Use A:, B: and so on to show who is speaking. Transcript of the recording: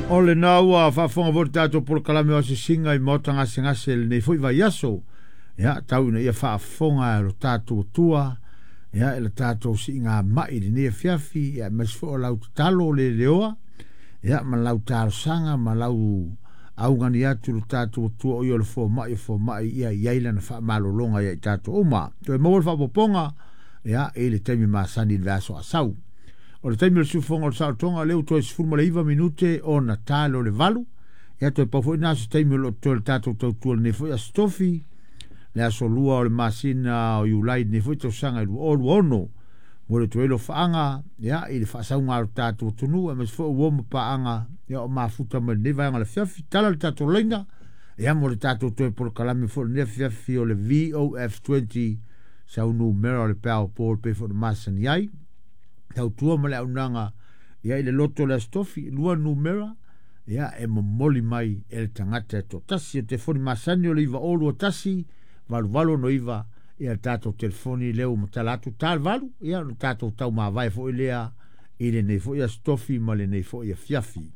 A: O lena ua faafofoga foi le tatou polokalame o asiasiga i maota gasegase i lenei foi vaiaso. Ia, tau ina ia faafofoga e lo tatou Atua, ia, i le tatou siigamai i lenei afiafi, ia, aemaise foi o lau tatalo leleoa, ia, ma lau talosaga ma lau augani atu i lo tatou Atua o ia o le fomai o fomai, ia i ai lana faamalologa ia i tatou uma. Toe maua le faaopoopoga, ia, i le taimi masani i le vaiaso a sau. O le taimi o le siufofoga o le saolotoga, lea ua toe 19 minute ona ta lea o le 8. Ia toe pau foi na o se taimi o lo o totoe o le tatou tautua i lenei foi Aso Tofi, le aso 2 o le masina o Iulai i lenei foi tausaga e 2026. Momoli atu ai alofaaga ia, i le faasauga a lo tatou atunuu, aemaise foi o uo ma paaga ia, o mafuta mai lenei vaega o le afiafi. Tala le tatou laina ia, mo le tatou toe polokalame foi o lenei afiafi o le VOF20 sau numera o le peao po e pei foi ona masani ai. Tautua ma le auaunaga ia i le loto o le Aso Tofi, 2 numera ia e momoli mai e le tagata e toatasi. O le telefoni masani o le 9021 8869 ia le tatou telefoni lea ua matala atu ta le 8 ia ona tatou taumavae foi lea i lenei foi Aso Tofi ma lenei foi afiafi.